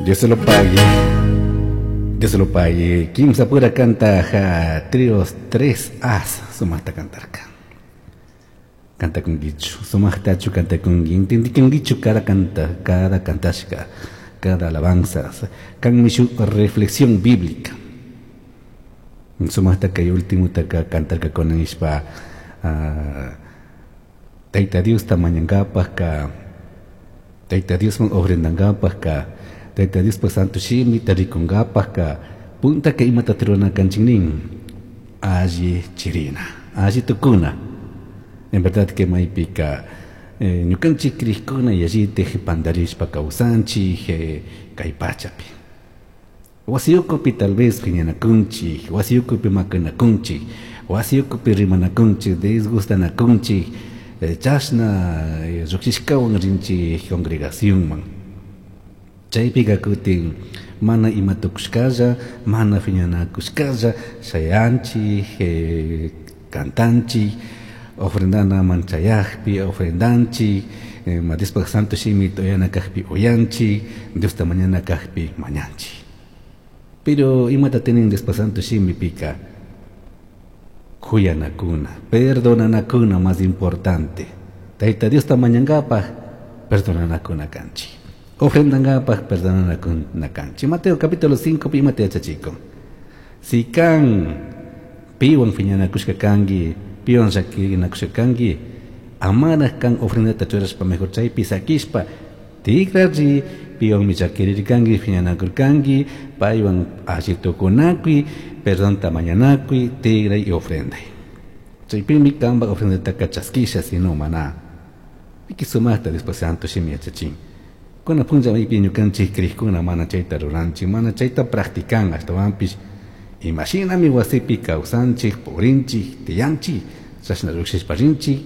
Dios se lo pague. Dios se lo pague. Kimsa pura canta ja, trios tres as sumajta cantarka. Canta con guichu. Sumajtachu canta con guichu cada canta, cada cantashka, cada alabanza. Kan mishu reflexión bíblica. Sumajta kay último taka cantarka con ispa Tayta Diosta mañangapaj ka Tayta Diosman ofrendangapaj ka Tayta Diospa santo shimita rikungapaj ka punta ka imata rurana kanchik nin alli chirina alli tukuna. En verdad que maypika ñukanchik crishkuna yallitik pandarishpa kawsanchik kay pachapi. Wasiyukupi tal vez phiñanakunchik, wasiyukupi makanakunchik, wasiyukupi rimanakunchik, disgustanakunchik, chashna lluqshishkawan rinchik congregacionman. Chaypika kutin mana ima tukushkalla, mana phiñanakushkalla shayanchik, cantanchik, ofrendanaman chayakpi ofrendanchik, Diospaj santo shimita uyana kajpi uyanchik, Diosta mañana kajpi mañanchik. Pero imata tienen Diospaj santo shimipika kuyanakuna, perdonanakuna más importante. Tayta Diosta mañangapaj perdonanakuna kanchik. Ofrendangapaj perdonanakuna kanchik. Mateo capítulo 5 pi imata yachachikun. Si kan piwan phiñanakushka kanki, piwan llakinakushka kanki, amaraj kan ofrendata churashpa mejor chaypi sakishpa tikrari piwanmi llakirirkanki, phiñanakurkanki, paywan alli tukunakuy, perdonta mañanakuy, tigray y ofrenday. Chaypimi kanpak ofrendataka chaskisha, sino mana. Piki sumajta después santo shimi yachachin. Kuna punlla maypi ñukanchik crishkuna mana chayta ruranchik, mana chayta practican, ashtawanpish imashinami wasipi kawsanchik, purinchik, tiyanchik, chashna llukshishpa rinchik.